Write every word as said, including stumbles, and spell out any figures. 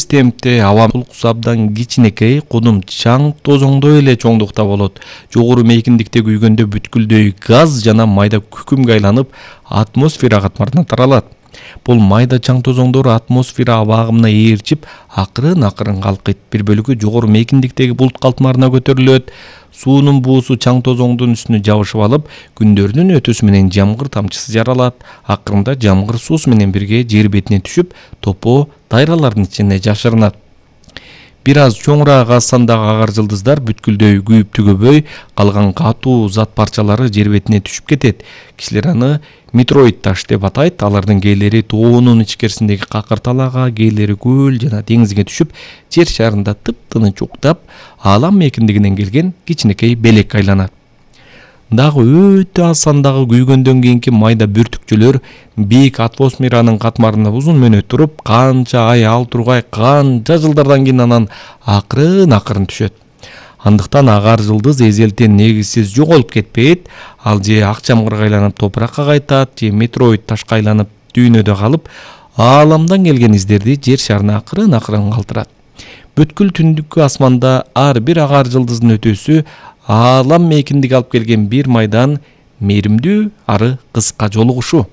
тез темпте аба булкусу абдан кичинекей, кудум чаң тозоңдой эле чоңдукта болот. Жогору мейкиндикте күйгөндө бүткүлдөй газ жана майда күкүмгө айланып, атмосфера катмарына таралат. Бул майда чаң тозоңдор атмосфера аба агымына ээрчип, акырын-акырын калкыйт. Бир бөлүгү жогору мейкиндиктеги булут калтмарына көтөрүлөт. Суунун буусу чаң тозоңдун үстүнө жабышып алып, күндөрдүн өтүүсү менен жамгыр тамчысы жаралат. Акырында жамгыр суусу менен бирге жер бетине түшүп, топоо дайралардын ичине жашырынат. Бир аз чоңураак аз сандагы агар жылдыздар бүткүлдөй күйүп түгөбөй, калган катуу зат парчалары жер бетине түшүп кетет. Кишилер аны метеорит таш деп атайт. Алардын кээлери тоонун ичкерисиндеги какыр талаага, кээлери көл жана деңизге түшүп, жер шарында тыптыныч уктап, аалам мейкиндигинен келген кичинекей белек айланат. Дагы өтө аз сандагы күйгөндөн кийинки майда бүртүкчөлөр бийик атмосферанын катмарында узун мөөнөт туруп, канча ай ал тургай, канча жылдардан кийин анан акырын-акырын түшөт. Андыктан агар жылдыз эзелтен негизсиз жоголуп кетпейт, ал же ак жамгырга айланып топуракка кайтат, же метеорит ташка айланып дүйнөдө калып, ааламдан келген издерди жер шарына акырын-акырын калтырат. Бүткүл түндүккү асманда ар бир агар жылдыздын өтүүсү аалам мейкиндиги алып келген бир майдан мээримдүү ары кыска жолугушуу.